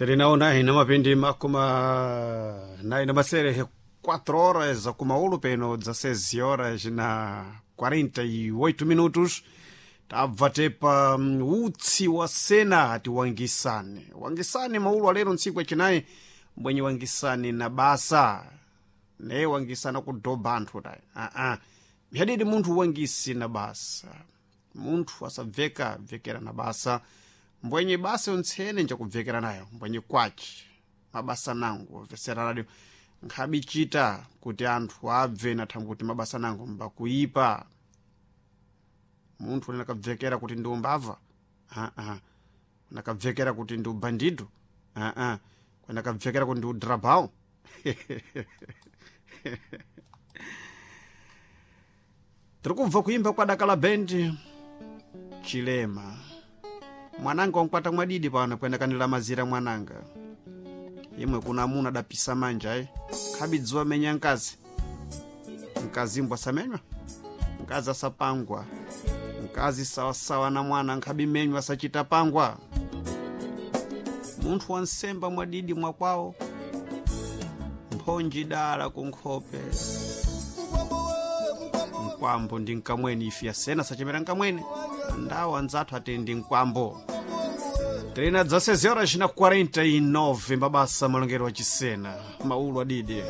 Terinaona ina mapindi makuma na masere 4 horas kumaulu peno 16 horas na 48 minutos. Tabva tepa utsi wa sena ati wangisane wangisane maulu alero ntsiku yachinayi mbwenye wangisane na basa ne wangisana kudhoba anthu tayi aa myadidi munthu wangisi na basa, munthu asabveka bvekera na basa mbwenye basa yontsene njakubvekera nayo mbwenye kwaci mabasa nangu obvesera radio nkhabichita kuti anthu abve na thangwi kuti mabasa nangu mbakuipa. Munthu unakabvekera kuti ndi umbava aa, unakabvekera kuti ndi ubandido aa, unakabvekera kuti ndi udrabao. Tiri kubva kuimba kwa Dakala Bendi Chilema. Mwananga wankwata mwadidi pano kuendakanira mazira mwananga imwe kuna amuna adapisa manja khabidziwa menya nkazi, mkazi mbwa samenywa, mkazi asapangwa, mkazi sawasawa na mwana nkhabimenywa asachita pangwa. Munthu wansemba mwadidi mwakwawo mphonji dala kunkhope mkwambo ndi nkamweni ife yasena sachemera nkamweni ndawo anzathu ati ndi mkwambo. Trina 16 horas na 49 mabasa malongero wa chisena maulu adidi.